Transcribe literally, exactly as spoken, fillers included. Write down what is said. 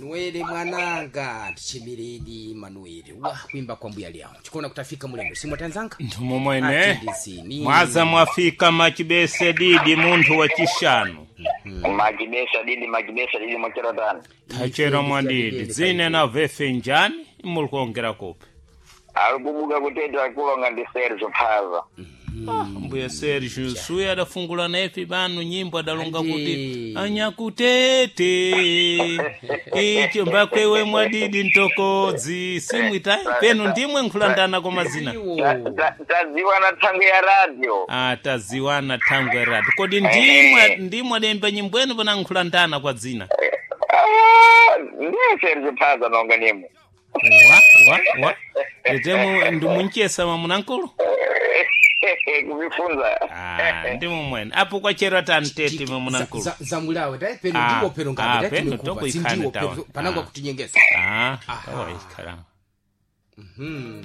Manuele mwananga, tichimiredi Manuele wa kuimba kwa mbuya lyawo chikuona kutafika mulendo simwatanzanga Ntumu mwene Atindisini. mwaza mwafika machibese didi munthu wa chishanu. Makibesa didi, makibesa didi mwachera tani. Tachera mwadidi dzine na vefe njani imuli kuongera kupi? Alikubuka kutete akulonga ndi Sergio Phaza. Ah, mbuya Sergio suya adafungula nepi banu nyimbo adalonga Andi. kuti anyakutete icho mbakwewe mwadidi ntokodzi simwita penu ndimwe nkhulandana kwa mazina. Iwo. Tadziwana thangwe ya radio. Ah, taziwana thangwe ratu kodi ndimwe ndimwe ademba nyimbo enu pana nkhulandana kwa dzina? Ah, ndiye Sergio Phaza nonga nimwe. Wa wa wa nditemu ndimunchesa mamunankulu. Kuvifunza. Ah, ndimo mwene apo kwachera tantete mamunankulu. Za- zamulawe tae peno Ah, ndiwo peno ah, ngabe tae peno timekuva tokuikhana sindiwo tawa. peno panangwa Ah. kutinyengesa. Ah, Aha. tawaikhala. Mhm.